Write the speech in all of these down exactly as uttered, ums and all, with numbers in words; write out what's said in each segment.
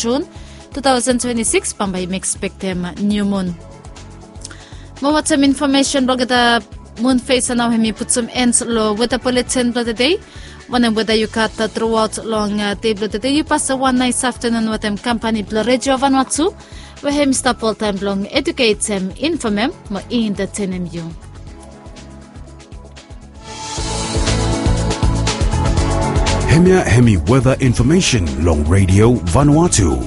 Jun tu taosen twenti sikis bambae yumi ekspektem niu mun. Mo watem infomesen blong olgeta mun fesa nao hem i putum en long weta poletin blong tede. Wanem weta yu gat truaot long dei blong tede, yu pasem wan nais aftanun wetem kampani blong redio vanua tu, we hem i stap oltaem blong eduketem, infomem mo intetenem yu. Hemia hem i weta infomesen long redio vanua tu.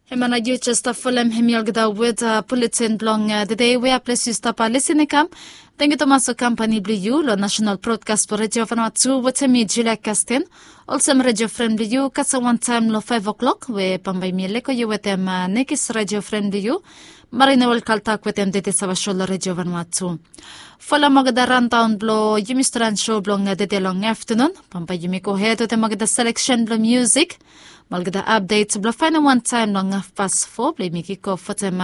Hemia nao yu jes stap folem hem i olgeta weta poletin blong tede we a ples yu stap lisin i kam. Tangkiu tumas long kampani blong yu long nasenal brodkas blong redio vanua tu wetem mi Julia Kastin. Olsem redio fren blong yu kasem wantaem long faef o'klok we bambae mi lego yu wetem nekis redio fren blong yu, Marina Welkaltak, wetem dede sava so long redio vanua tu. Folem olgeta randaon blong yumi storian so blong dede long aftanun. Bambae yumi gohed wetem olgeta seleksen blong musik mo olgeta apdet blong faenem wantaem long hafpas fo blong yumi kikof wetem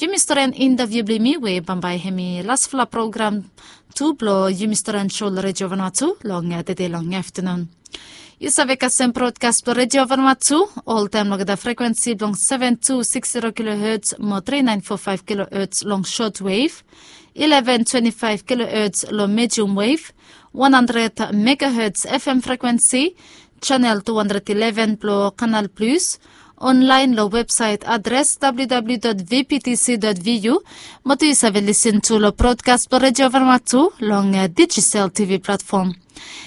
yumi storian intaviu blong yumi we bambae hem i lasfala program tu blong yumi storian so long redio vanua tu long dede long aftanun. Yu save kasem brodkas blong redio vanua tu oltaem long olgeta frekwensi blong seven two six zero kilohertz mo three nine four five kilohertz long short wave, eleven twenty five kilohertz long medium wave, one hundred megahertz F M frekwensi, chanel two hundred eleven blong Canal Plus, onlaen long websaet adres W W W dot V P T C dot V U. Mo tu yu save lisin tu long brodkas blong redio vanua tu long dijital T V platfom.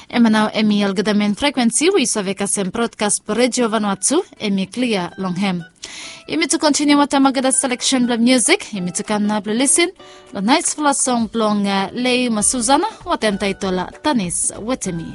Hemia nao hem i olgeta men frekwensi we yu save kasem brodkas blong redio vanua tu hem i klia long hem. Yumi tu kontiniu wetem olgeta seleksen blong musik, yumi tu kam nao blong lisin long naesfala song blong Lei mo Susana wetem taetol Tanis wetem mi.